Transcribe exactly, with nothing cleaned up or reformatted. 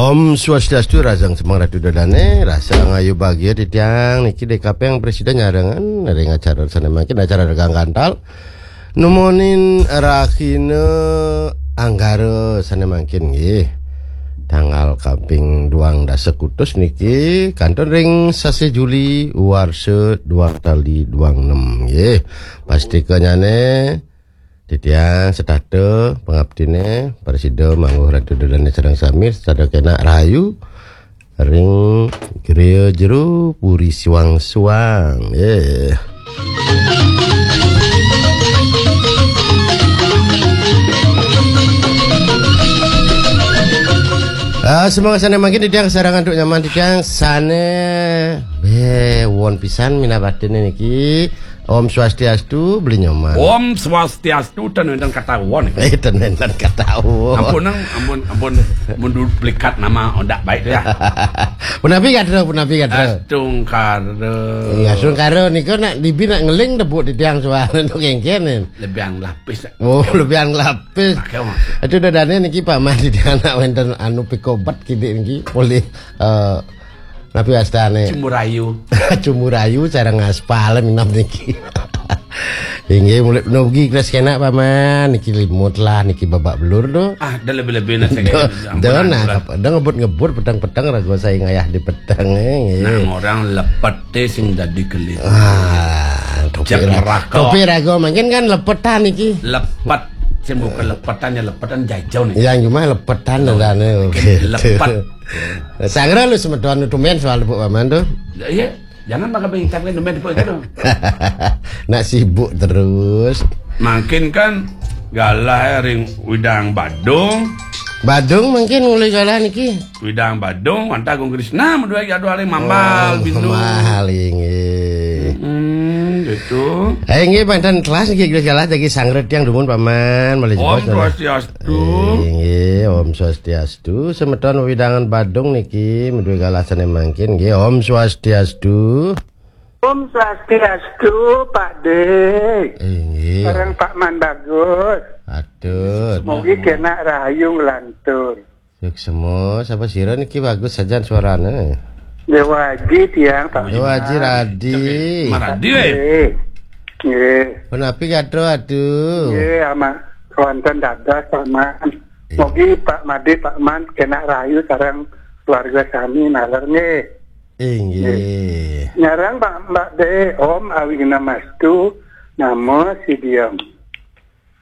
Om Swastiastu, rahajeng semeng Ratu Dodane, rahajeng ayu bagia titiang niki D K P yang presida nyarengan ring acara sane mangkin, acara Regang Gantal. Numunin rahina Anggara sane mangkin nggih. Tanggal kaping duang dasa kutus niki kantun ring sasih Juli warsa duang tali duang nem nggih. Pastikanyane titiang setata pangaptine prasida mangguh Ratu Dodane sareng sami sada kenak rahayu ring griya jero puri suang-suang. Nggih. Ah, semoga sane mangkin titiang sareng antuk nyaman titiang sane be won pisan minab atine niki. Om Swastiastu, beli nyoman. Om Swastiastu, ten wenten kata won. Eh, ten wenten kata won. Ampun, nang, ampun, ampun. Mun duplikat nama ndak baik ya. Punapi gatra, punapi gatra. Astungkara. Iya, astungkara nika nak dibi nak ngeling tepuk titiang suara nu kengken. Lebihan lapis. Oh, lebihan lapis. Pakai maksud. Itu dadane niki Pak Man titiang nak wenten anu pikobet kidik niki polih, eh, napi wastane? Cumurayu. Cumurayu sareng aspal minab niki. Inggih, mulai nugi kelas kenak Paman, niki limut lah, niki babak belur do. Ah, dah lebih-lebih nak saya. Do, do, nah, do ngebut-ngebut petang-petang raga saya ngayah di petang, eh, nggih. Nah, orang lepet teh sing dadi kelit. Ah, topi neraka. Topi raga mangkin kan lepetan niki. Lepet, sing bukan lepetan ya lepetan jajau nih. Yang cuma lepetan dan, eh, lepet. Sangra lu semeton tumben soal Bu Paman tuh. Iya. Jangan makan pengicat kan temen depan itu. Nak sibuk terus. Mangkin kan galah ring widang Badung. Badung mangkin mulai galah niki. Widang Badung, wantah Agung Krisna, madua jadwal ring Mambal, oh, Bindu. Mambal, inggih. Hmm, gitu. Eh, inggih, banten kelas niki galah jagi sangret yang dumun Paman, malih. Om Swastiastu. Inggih, Om Swastiastu. Semeton wewidangan Badung niki, madue galah sane mangkin nggih. Om Swastiastu. Om Swastiastu, Pak De. Inggih. Sareng Pak Man Bagus. Atur. Mugi kenak rahayu nglantur. Suksma, sapa sira niki bagus sajan suarane? Dewa Aji tiang, Pak. Dewa Aji Radi. Maradi, eh. Nggih. Punapi gatra, aduh. Nggih, ama wonten dados, Pak Man. Iya. Mugi Pak Made, Pak Man kenak rahayu sareng keluarga sami naler nggih. Inggih. Nyarang Pak Mbak De, Om Awighnamastu, Namo Siddham.